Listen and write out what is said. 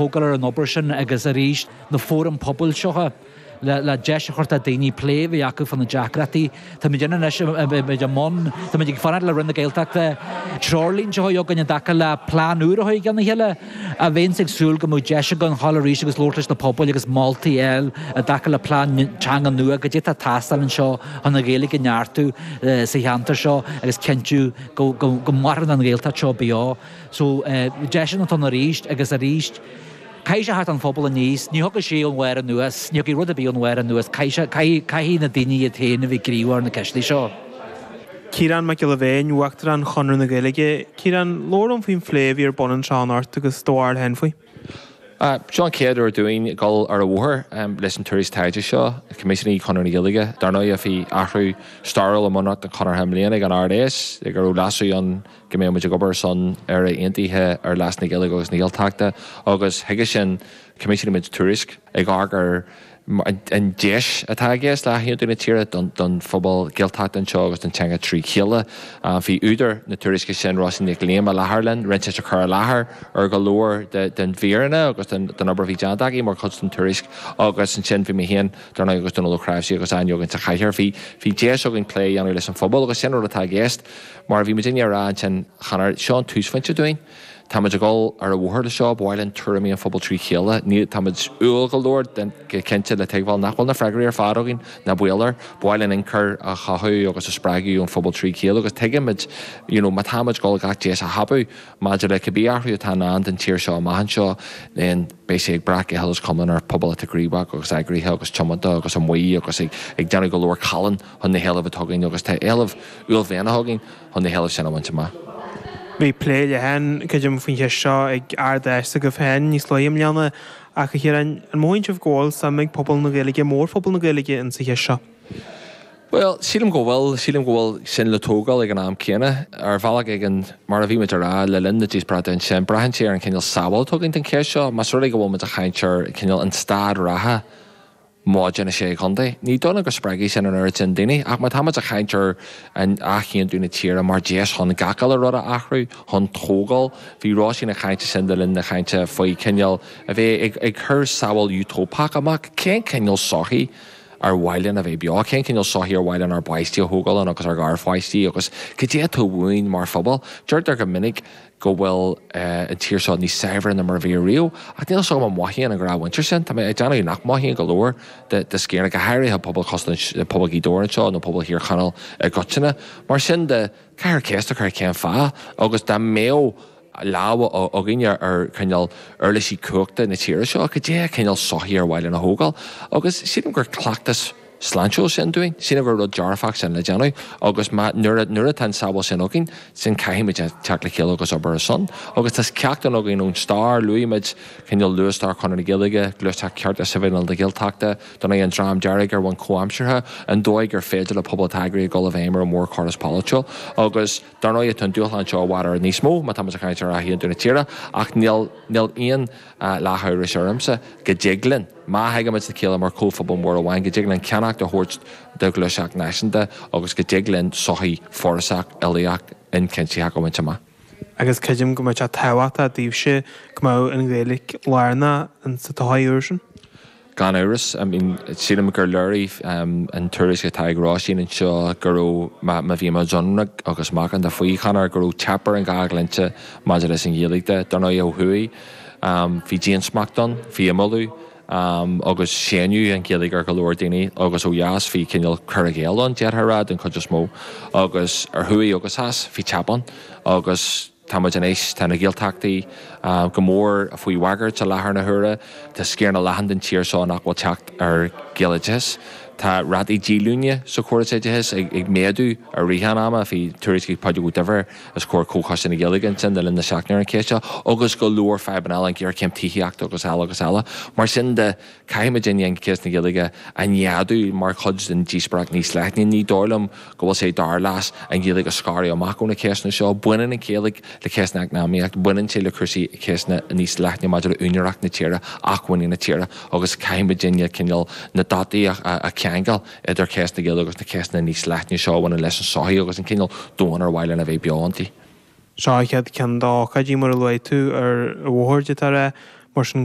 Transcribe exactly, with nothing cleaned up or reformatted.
tógáil ar an obair sin agus arís na fóraim pobail seo le, le deis a chur do daoine plé bhí acu fan na deacrachtaí. Tá muid anois i mbun Tá muid ag fanacht le Roinn na Gaeltachta treoirlínte a againn i dtaca le plean úr a gan chéile a bhéonn ag súil go mbeidh deis againn dhul arís agus labhairt leis na pobail agus moltaí eile i dtaca le plean teanga nua go dtí tá tástáil anseo chun an Ghaeilge a neartú sa cheantar seo agus cinntiú go, go, go maireann an Ghaeltacht seo beo. So deis an ton arís agus arís Caithfidh sé theacht ón phobal aníos, ní thiocfaidh sé ón bharr anuas, ní thiocfaidh rud ar bith ón bharr anuas, caithfidh na daoine iad féin a bheith gníomhach ar na ceisteanna seo. Ciarán Mac Giolla Bhéin, Uachtarán Chonradh na Gaeilge, Ciarán labhair liom faoin phlé a bhí ar bun anseo anocht agus do bharúil féin faoi. Uh, seo an chéad uair dúinn dul ar an bhóthar um, leis an tuairisc taighde seo, choimisiúnaigh Chonradh na Gaeilge. Dar ndóigh bhí athrú stairiúil i mbunreacht an Chonartha i mbliana ag an Ard-Fheis, go raibh leasú ann go mbeidh muid ag obair son Éire aontaithe ar leas na Gaeilge agus na Gaeltachta agus chuige sin choimisiúnaigh muid tuairisc ag amharc ar an deis atá i gceist le haontú na tíre don phobal Gaeltachta anseo agus don teanga trí chéile. Bhí údar na tuairisce sin Róisín Nic Liam i láthair linn, rinne sí cur i láthair ar go leor den bhfírinne agus den obair bhí déanta aici mar chuid den tuairisc agus ansin bhí mé féin dar ndóigh agus Dónal Ó Cnáimhsí agus Áine againn sa chathaoir. Bhí bhí deis againn plé a dhéanamh leis an phobal agus sin rud atá i gceist mar bhí muid rá ansin cheana seo an túsphointe dúinn. Táimid ag dul ar an bhóthar le seo b'áil an tuairimí an phobal trí chéile, ní táimid umhal go leor den go cinnte le tuigbheáil nach bhfuil na freagraí ar fad againn ná baol air, b'áil an ionchur a chothú agus a spreagadh ón phobal trí chéile agus tuigimid you know, má táimid ag dul gach deis a thapú maidir le cibé athrú atá i ndán don tír seo amach anseo then beidh sé ag brath go huile is go hiomlán ar pobal atá gníomhach agus eagraithe agus tiomanta agus amuigh agus ag, ag déanamh go leor calainn chun na héilimh atá againn agus tá éilimh uaillmhianacha againn chun na héilimh sin a bhaint amach. Bhí plé leathan creidim faoin cheist seo ag Ard-Fheis agaibh féin níos luaithe i mbliana ach a Chiaráin an mothaíonn sibh go bhfuil suim ag pobal na Gaeilge mórphobal na Gaeilge in sa cheist seo. Well, sílim go bhfuil sílim go bhfuil sin le tógáil ag an am céanna ar bhealach ag an mar a bhí muid ag rá le linn na díospóireachta ansin braitheann sé ar an cineál samhail atá againn den cheist seo, Más rud é go bhfuil muid ag caint ar cineál an staid reatha maidir na sé chontae. Ní dóigh go spreagfaidh sin an oiread sin daoine, ach má táimid ag caint ar an athaontú na tíre mar deis chun gach uile rud a athrú chun tógáil, bhí Róisín ag caint sin le linn na cainte faoi cineál a bheith ag, ag cur samhail útóipeach amach, cén cineál sochaí ar mhaith linn a bheith beo, cén cineál sochaí ar mhaith linn ár bpáistí a thógáil agus ár ngarpháistí agus cad é atá uainn mar phobal. Deirtear go minic go bhfuil uh, an tír seo níos saibhre ná mar a bhí riamh, ach níl so an mothaíonn an ghnáthmhuintir sin, Tá mé ag déanamh nach mothaíonn go leor de, de sciar go háirithe pobal pobal Ghaoth Dobhair anseo nó pobal Thír Chonaill i gcoitinne. Mar sin de caithfear ceist a chur cén fáth agus dá mbeadh lámh againne ar cineál uirlisí cumhachta na tíre seo, cad é cineál sochaí ar mhaith linn a thógáil, agus sílim gur cleachtas sláintiúil sin dúinn, sílim gur rud dearfach sin le déanamh, agus nuair nuair atá an samhail sin againn, sin caithfimid teacht le chéile agus obair ar son. Agus tá ceacht againn ón stair luaigh cineál luathstair Chonradh na Gaeilge, gluaiseacht cearta sibhialta na Gaeltachta, don an Dream Dearg ar bhonn comhaimseartha, an dóigh gur féidir le pobal eagraithe dul i bhfeidhm ar an mórchóras polaitiúil, agus dar ndóigh tá an dúshlán seo i bhfad níos mó má tá muid ag caint ar athaontú na tíre, ach níl níl aon leath amhrais ormsa go dtig linn. Má thagaimid le chéile mar chomhphobal mór amháin go dtig linn ceannacht a thabhairt do ghluaiseacht náisiúnta agus go dtig linn sochaí forásach uilíoch ionchuimsitheach a bhaint amach. Agus creidim go mbeidh sé tábhachtach daoibhse go mbeadh an Ghaeilge lárnach in sa todhchaí úr sin. Gan amhras, I mean, sílim gur léirigh um, an tuairisc atá ag Róisín anseo go raibh má bhí muid ionraic agus macánta faoi chanar go raibh teip ar an dhá dhlínse maidir leis an Ghaeilge de dar ndóigh ó thuaidh. Um, bhí diansmacht ann, bhí imeallú, um, agus séanadh an Ghaeilge ar go leor daoine agus ó dheas bhí cineál cur i gcéill ann déarfá den chuid is mó agus ar thuaidh agus theas bhí teip ann agus táimid anois tá na Gaeltachtaí uh, go mór faoi bhagairt i láthair na huaire, Tá sciar leathan den tír seo nach bhfuil teacht ar Ghaeloideachas. Tá rátaí díolúine sa chóras oideachais ag, ag méadú i rith an ama bhí tuairisc Pádraig Ó Duibhir os comhair Chomhchoiste na Gaeilge ansin le linn na seachtaine ar an cheist seo, agus go leor fadhbanna eile an ghéarchéim tithíochta agus eile agus eile. Mar sin de caithfimid an cheist na Gaeilge a neadú mar chuid den díospóireacht níos leithne ní dóigh liom go bhfuil sé dár leas an Ghaeilge a scaradh amach ó na ceisteanna seo, baineann an Ghaeilge le ceisteanna eacnamaíocht, baineann sé le cúrsaí ceisteanna níos leithne maidir le úinéireacht na tíre, acmhainní na tíre, agus caithfimid cineál na dotaí a cheangal idir ceist na Gaeilge agus na ceisteanna níos leithne seo a bhaineann leis an sochaí agus an cineál domhan ar mhaith linn a bheith beo inti. Seo chéad ceann d'ócáidí mar a luaigh tú ar bhóthar de mar sin